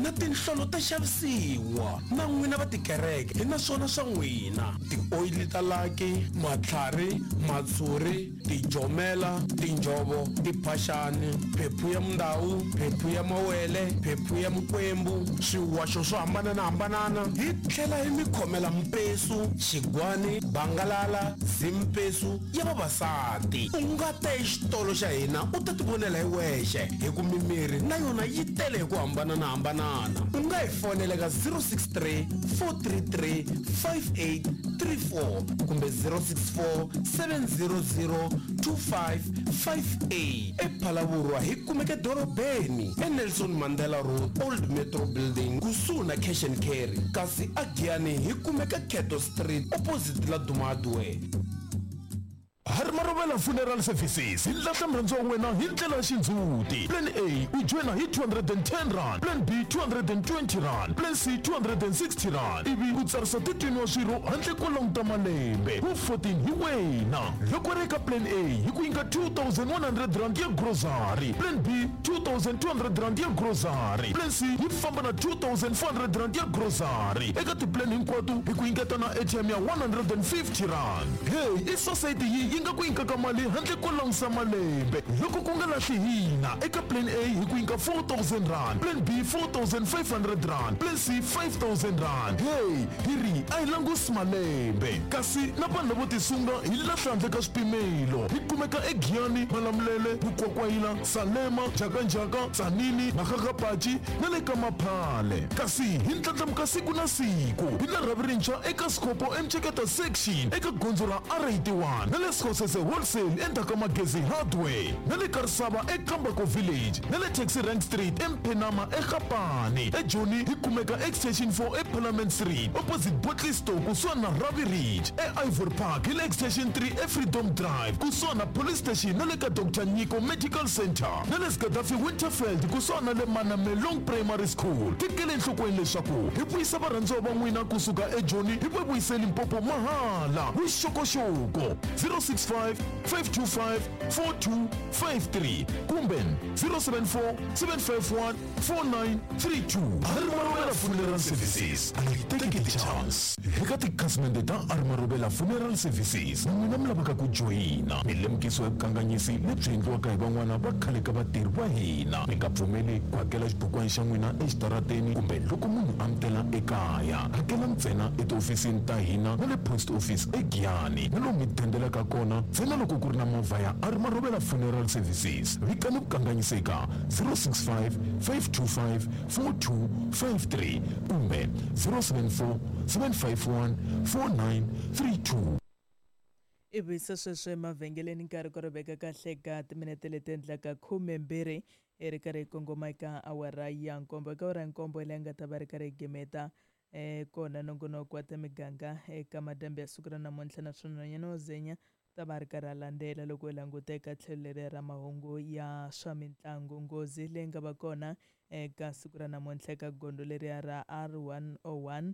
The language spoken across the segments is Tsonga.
Na tinhlolo ta xavisiwa. Na n'wina va tikereke hi na swona swa n'wina. Tioyili ta laki, matlhari, matshuri, tijomela, tinjhovo, tiphaxani, phephu ya mundawu, phephu ya mawele, phephu ya mikwembu, swiwaxo swo hambanana-hambanana. Hi tlhela hi mi khomela mpesu, xigwani, bangalala, zimpesu ya vavasati. U nga ta exitolo xa hina u ta tivonela hi wexe, hi ku mimiri na yona yi tele hi ku hambanana-hambanana. U nga hi fonela eka 063 433 5834 kumbe 064 700 2558. EPhalavurwa hi kumeka edorobeni eNelson Mandela Road, Old Metro Building, kusuhi na Cash and Carry, kasi aGiyani hi kumeka Cato Street opposite Laduma Hardware. Harimarovela Funeral Services yi lahla murhandziwa wa wena hi ndlela ya xindzhuti. Plan A u joyina hi R210, Plan B R220, Plan C R260 ivi u tsarisa titwini wa swirho handle ko languta malembe. Wu 14 hi wena. Loko ri eka Plan A hi ku nyika R2100 ya grocery, Plan B R2200 ya grocery, Plan C yi famba na R2400 ya grocery. Eka ti-plan hinkwato hi ku nyiketa na airtime ya R150. Hey, i society yi yi nga ku nyikaka mali handle ko langusa malembe. Loko ku nga lahli hina, eka Plan A hi ku nyika R4000, Plan B R4500, Plan C R5000. Hey, hi ri a hi langusi malembe. Kasi na vanhu lavo tisunga hi lahla handle ka swipimelo. Hi kumeka eGiyani, Malamulele, Mukwakwayila, Salema, Njhakanjhaka, Tzaneen, Makgakgapachi na le ka Maphale. Kasi hi ndlandlamuka siku na siku. Hi na rhavi rintshwa eka Sekgopo eMtsheketa Section eka gondzo ra R81 na le Sekgosese Wholesale endzhaku ka Magezi Hardware na le Karisava eKambako Village na le Taxi Rank Street eMphenama eGapane. EJoni hi kumeka Extension 4 eParliament Street opposite Bottle Store kusuhani na Ravi Ridge. E-Ivory Park hi le Extension 3 eFreedom Drive kusuhani na Police Station na le ka Doctor Nyiko Medical Centre na le Gaddafi Winterveld kusuhani na le Manamelong Primary School. Tekela enhlokweni leswaku hi vuyisa varhandziwa va n'wina kusuka eJoni hi va vuyisa eLimpopo mahala. Vuxokoxoko 065 525 4253 kumbe 074 751 4932. Arimarovela Funeral Services a yi teki ti-chance. Eka tikhasimende ta Arimarovela Funeral Services, na n'wina mi lavaka ku joyina, mi lemukisiwa hi vukanganyisi lebyi endliwaka hi van'wana va khale ka vatirhi va hina. Mi nga pfumeli ku hakela xibukwana xa n'wina exitarateni kumbe loko munhu a mi tela ekaya. Hakela ntsena etihofisini ta hina na le Post Office eGiyani na lomu mi dendelaka kona ntsena loko ku ri na movha ya Arimarovela Funeral Services. Vikani vukanganyisi eka 065 525 4253 kumbe 074 751 4932. Ivi se sweswo emavhengeleni nkarhi ku ri veka kahle ka timinete leti endlaka khumembirhi hi ri karhi hi kongoma eka awara ya nkombo. Eka awara ya nkombo leyi nga ta va ri karhi hi gimeta kona nongonoko wa ta miganga eka madyambu ya siku ra namuntlha, naswona nhwanyana wo zenya ta va ri karhi a landzela loko hi languta eka tlhelo leri ra mahungu ya swa mitlangu. Nghozi leyi nga va kona eka siku ra namuntlha eka gondzo leriya ra R101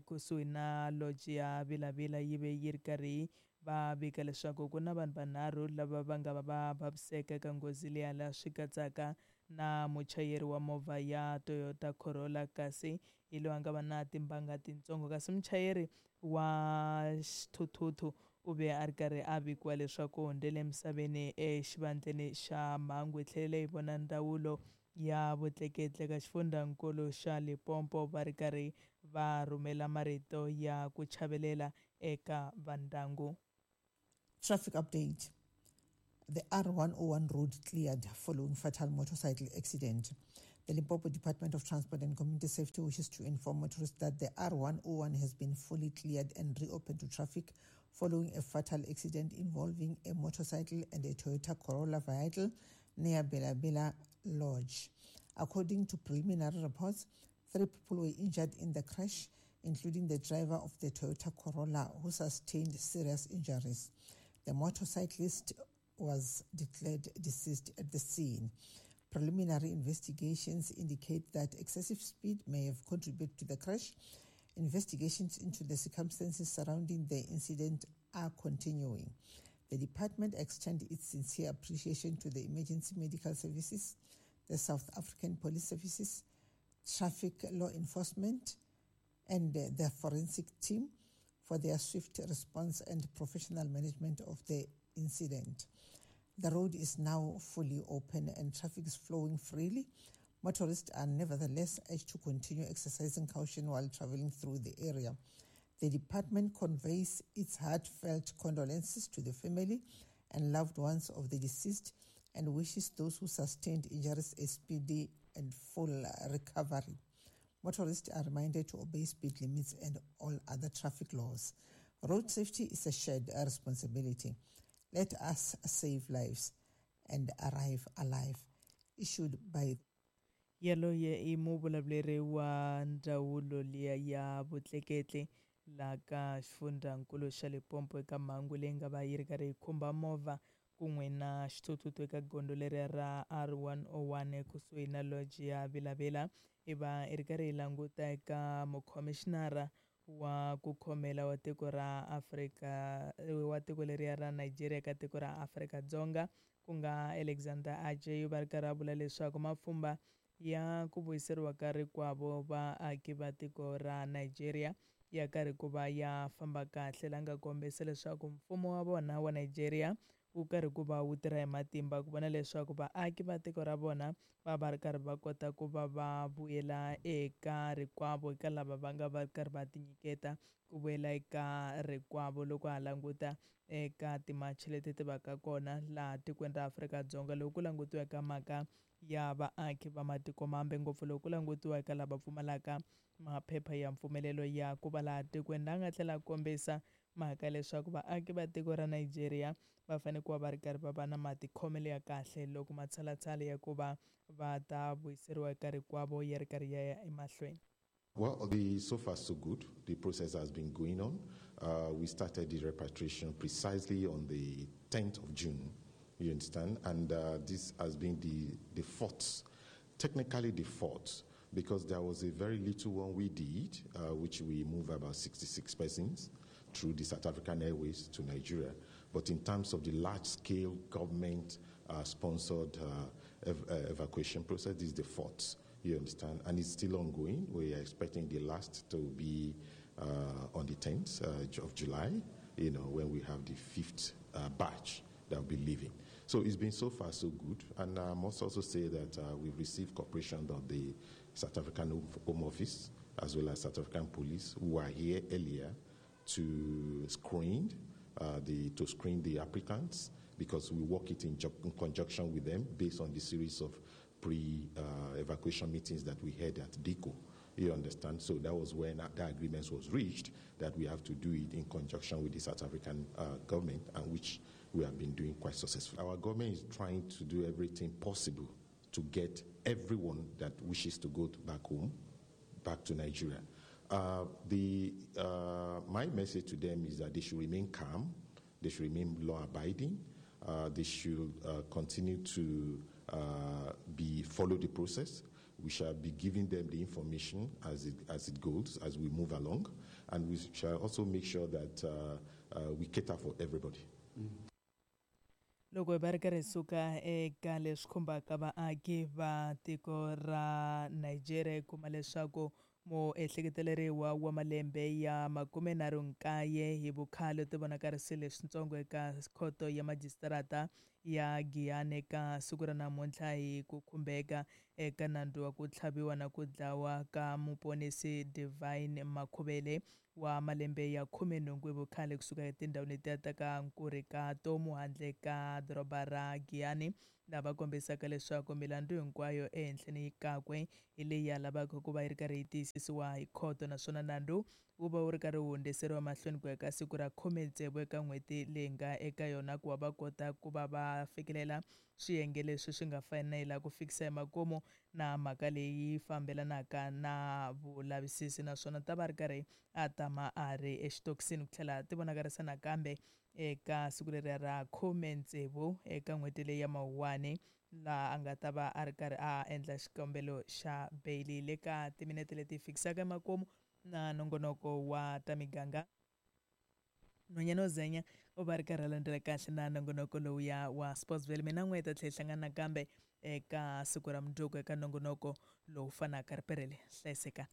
kusuhi na lodge ya Vilavila yi ve yi ri karhi va vika leswaku ku na vanhu vanharhu lava va nga va va vaviseka eka nghozi liya, laha swi katsaka na muchayeri wa movha ya Toyota Corolla, kasi hi loyi a nga va na timbanga tintsongo, kasi muchayeri wa xithuthuthu u ve a ri karhi a vikiwa leswaku u hundzele emisaveni exivandleni xa mhangu. Hi tlhelele hi vona ndzawulo ya vutleketli eka xifundzankulu xa Limpopo va ri karhi va rhumela marito ya ku chavelela eka vandyangu. Traffic update. The R101 road cleared following fatal motorcycle accident. The Limpopo Department of Transport and Community Safety wishes to inform motorists that the R101 has been fully cleared and reopened to traffic following a fatal accident involving a motorcycle and a Toyota Corolla vehicle near Bela Bela Lodge. According to preliminary reports, 3 people were injured in the crash, including the driver of the Toyota Corolla, who sustained serious injuries. The motorcyclist was declared deceased at the scene. Preliminary investigations indicate that excessive speed may have contributed to the crash. Investigations into the circumstances surrounding the incident are continuing. The department extends its sincere appreciation to the Emergency Medical Services, the South African Police Services, traffic law enforcement, and the forensic team for their swift response and professional management of the incident. The road is now fully open and traffic is flowing freely. Motorists are nevertheless urged to continue exercising caution while traveling through the area. The department conveys its heartfelt condolences to the family and loved ones of the deceased and wishes those who sustained injuries a speedy and full recovery. Motorists are reminded to obey speed limits and all other traffic laws. Road safety is a shared responsibility. Let us save lives and arrive alive. Issued by Yaloye i muvulavuleri wa ndzawulo liya ya vutleketli laha ka xifundzankulu xa Limpopo eka mhangu leyi nga va yi ri karhi yi khumba movha kun'we na xithuthuthu eka gondzo leriya ra R101 kusuhi na lodge ya Vilavila. I va i ri karhi yi languta eka mukhomixinara wa ku khomela wa tiko ra Afrika wa tiko leriya ra Nigeria ka tiko ra Afrika-Dzonga ku nga Alexander Ajay, va ri karhi a vula leswaku mapfhumba ya ku vuyiseriwa ka rikwavo vaaki va tiko ra Nigeria ya karhi ku va ya famba kahle, la nga kombisa leswaku mfumo wa vona wa Nigeria wu karhi ku va wu tirha hi matimba ku vona leswaku vaaki va tiko ra vona va va ri karhi va kota ku va va vuyela eka rikwavo eka lava va nga va karhi va tinyiketa ku vuyela eka rikwavo. Loko ha languta eka timachi leti ti vaka kona laha tikweni ra Afrika-Dzonga loko ku langutiwa eka mhaka ya vaaki va matiko mambe, ngopfu loko ku langutiwa eka lava pfumalaka maphepha ya mpfumelelo ya ku va laha tikweni, la nga tlhela kombisa mhaka leswaku vaaki va tiko ra Nigeria va fanele ku va va ri karhi va va na matikhomelo ya kahle loko matshalatshala ya ku va va ta vuyiseriwa eka rikwavo ya ri karhi ya ya emahlweni. Well, so far so good. The process has been going on. We started the repatriation precisely on the 10th of June, you understand? And this has been the fourth, technically the fourth, because there was a very little one we did, which we moved about 66 persons through the South African Airways to Nigeria. But in terms of the large-scale government-sponsored evacuation process, this is the fourth, you understand? And it's still ongoing. We are expecting the last to be on the 10th of July, you know, when we have the fifth batch that will be leaving. So it's been so far so good. And I must also say that we've received cooperation of the South African Home Office, as well as South African police, who were here earlier to screen the applicants, because we work it in conjunction with them based on the series of pre-evacuation meetings that we had at DICO. You understand? So that was when that agreement was reached, that we have to do it in conjunction with the South African government, and which we have been doing quite successfully. Our government is trying to do everything possible to get everyone that wishes to go back home, back to Nigeria. My message to them is that they should remain calm, they should remain law-abiding, they should continue to follow the process. We shall be giving them the information as it goes, as we move along, and we shall also make sure that we cater for everybody. Loko hi va ri karhi hi suka eka leswi khumbaka vaaki va tiko ra Nigeria, hi kuma leswaku muehleketeleriwa wa malembe ya 39 hi vukhale ti vonakarisile switsongo eka khoto ya majisitarata ya Giyani eka siku ra namuntlha hi ku khumbeka eka nandzu wa ku tlhaviwa na ku dlawa ka muponisi Divine Makhuvele wa malembe ya 18 hi vukhale kusuka etindhawini letiya ta ka Nkurikatomu handle ka doroba ra Giyani, lava kombisaka leswaku milandzu hinkwayo ehenhleni kakwe hi leyi ya lavaka ku va yi ri karhi yi tiyisisiwa hi khoto, naswona nandzu wu va wu ri karhi wu hundziseriwa mahlweni ku ya ka siku ra 16 eka n'hweti leyi nga eka yona, ku va va kota ku va va fikelela swiyenge leswi swi nga fanela ku fikisa emakumu na mhaka leyi fambelanaka na vulavisisi, naswona ta va ri karhi a tama a ri exitokisini ku tlhela ti vonakarisa nakambe eka siku leriya ra 16 eka n'hweti leyi ya Mawuwani, laha a nga ta va a ri karhi a endla xikombelo xa beyili. Le ka timinete leti fikisaka emakumu na nongonoko wa ta miganga, nhwanyana wo zenya u va ri karhi a landzela kahle na nongonoko lowuya wa Sportsville. Mina n'we hi ta tlhela hi hlangana nakambe Eka siku ra mundzuku eka nongonoko lowu fanaka, riperele, hlayiseka.